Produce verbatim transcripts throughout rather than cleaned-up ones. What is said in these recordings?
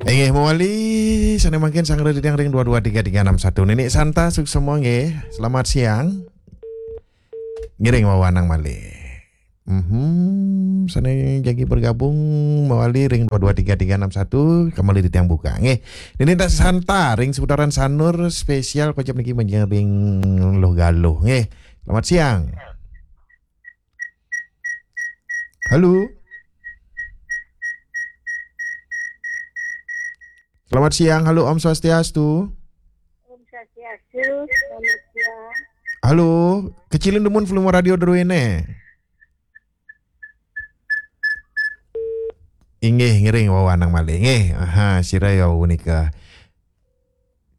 Inggih mawali, sané mangkin sanggra titiang ring dua dua tiga tiga enam satu. Nini Santa, suksma nggih. Selamat siang. Ngiring wawanang malih. Mhm, sané jagi bergabung mawali ring dua dua tiga tiga enam satu, kembali titiang buka nggih. Nini Santa ring seputaran Sanur spesial kocap niki majeng ring Luh Galuh nggih. Selamat siang. Halo. Selamat siang. Halo, Om Swastiastu. Om Swastiastu. Selamat siang. Halo, kecilin dumun volume radio druéné. Inggih, ngiring wawanang malih. Nggih, aha, sira ya punika.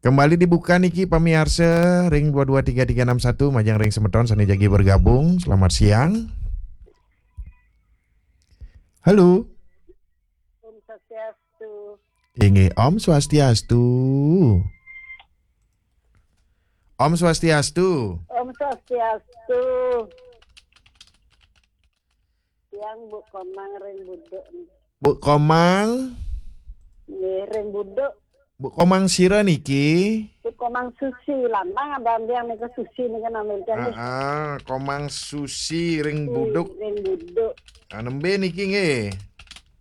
Kembali dibuka niki pamiarsa ring dua dua tiga tiga enam satu, majeng ring semeton sané jagi bergabung. Selamat siang. Halo. Om Swastiastu. Inggih, Om Swastiastu. Om Swastiastu. Om Swastiastu. Tiang Bu Komang ring Buduk. Bu Komang? Nggih, ring Buduk. Bu Komang sira niki? Bu Komang Susi, lambang abang tiang nika Susi nika namanya tiang nggih. Ah, ah, Komang Susi ring Buduk. Ring Buduk. Ah, nembé niki nggih?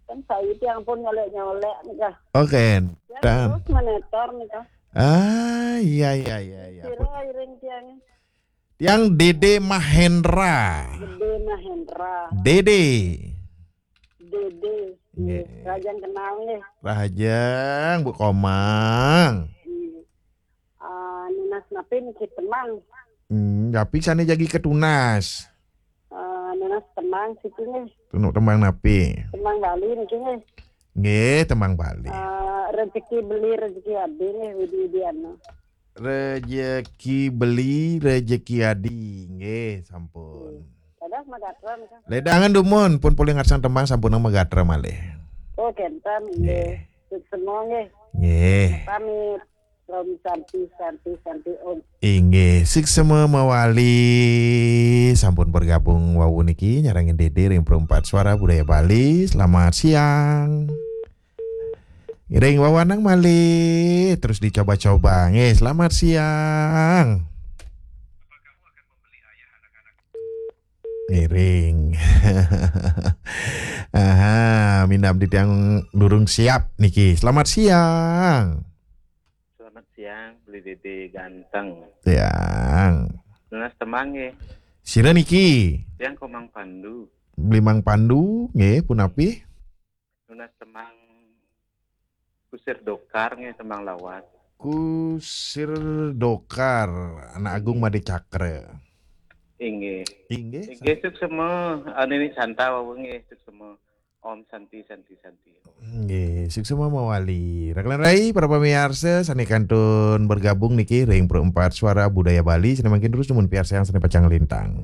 Kan saya tiang pun nyolek-nyolek nika. Oke. Ya, dan terus menetor nika. Ah, iya, iya, iya, iya. Sira iring tiang. Tiang Dede Mahendra. Dede Mahendra. Dede. Dede. Nggih. Nggih. Rahajeng kenal nggih. Rahajeng, Bu Komang. Nggih. Ah, nunas napi niki tembang? Hmm, napi sané jagi katunas? Ah, nunas tembang siki nggih. Tunuk tembang napi? Tembang Bali niki nggih. Nggih, tembang Bali. Ah, rezeki beli, rezeki adi nggih, Widi Widiana. Rejeki beli, rejeki adi. Nggih, sampun. Dadah, magatra nika. Ledangan dumun, pun polih ngarsan tembang sampunang magatra malih. Oh, kénten, nggih. Nggih. Suksma nggih. Nggih. Pamit. Om Santi, Santi, Santi, Om. Inggih, suksma mawali sampun bergabung wau niki nyarengin Dede ring Perempat Suara Budaya Bali. Selamat siang. Ngiring wawanang malih, terus dicoba-coba. Nggih, selamat siang. Ngiring. Aha, minab titiang durung siap niki. Selamat siang. Selamat siang, Beli Dede ganteng. Siang. Nunas tembang nggih. Sira niki? Tiang Komang Pandu. Beli Mang Pandu, nggih, punapi? Nunas tembang Kusir Dokar nggih, tembang lawas. Kusir Dokar, Anak Agung Made Cakra. Inggih. Inggih. Inggih, suksma, ah, Nini Santa wau nggih, suksma. Om Santi, Santi, Santi. Nggih, suksma mawali. Raka lan rai, para pamiarsa sané kantun bergabung niki ring Perempat Suara Budaya Bali, sané mangkin terus dumun piarsayang sané pacang lintang.